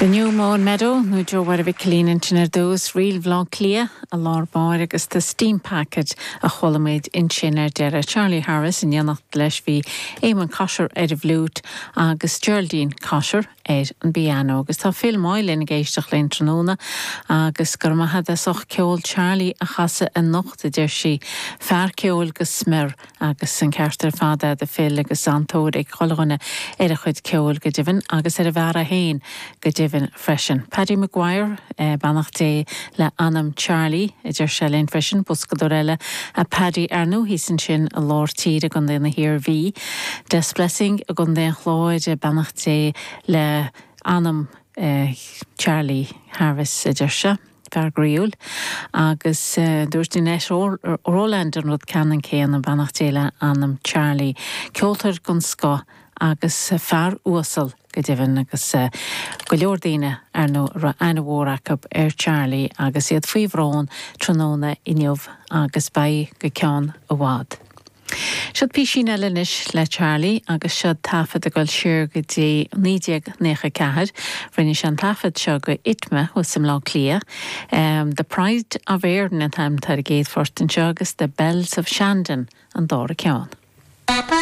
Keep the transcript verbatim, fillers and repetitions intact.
The New Mown Meadow nó Joe Mháire Mhic Cillín ansin ar dtús Ríl Bhaile Átha Cliath i lár báire agus The Steam Packet a chuala muid ansin ar deireadh Charlie Harris in éineacht leis bhí Eamon Cotter ar an bhfliúit agus Geraldine Cotter ar an bpianó agus tá Phil Moylan ag éisteacht linn tráthnóna agus gur maith as ucht ceol Charlie a chasadh anocht a deir sí fear ceoil go smior agus an ceart ar fad agat a Phil agus an-tóir ag chuile dhuine ar a chuid ceoil go deimhin agus ar a bhfear féin go deimhin freisin. Paddy Maguire eh, beannacht Dé le anam Charlie a deir sé linn freisin boscadóir eile a Paddy ar ndóigh ansin i lár tíre i gContae na hIarmhí. Des Blessing i gContae an Chláir beannacht Dé le anam eh, Charlie Harris a deir sé. Fear groíúil agus uh, dúirt Annette Roland an rud ceannann céanna beannacht Dé le anam Charlie. Ceoltóir den scoth agus fear uasal go deimhin agus uh, go leor daoine ar ndóigh raibh aithne mhór acu ar Charlie agus iad faoi bhrón tráthnóna inniu agus beidh go ceann i bhfad. Siod píosín eile anois le Charlie agus siod taifead ag dul siar go dtí naoi déag nócha ceathair, Rinne sé an taifead seo go ITMA thuas i mBleá Cliath. Um, the Pride of Erin an t-ainm ar an gcéad phort anseo agus The Bells of Shandon an dara ceann.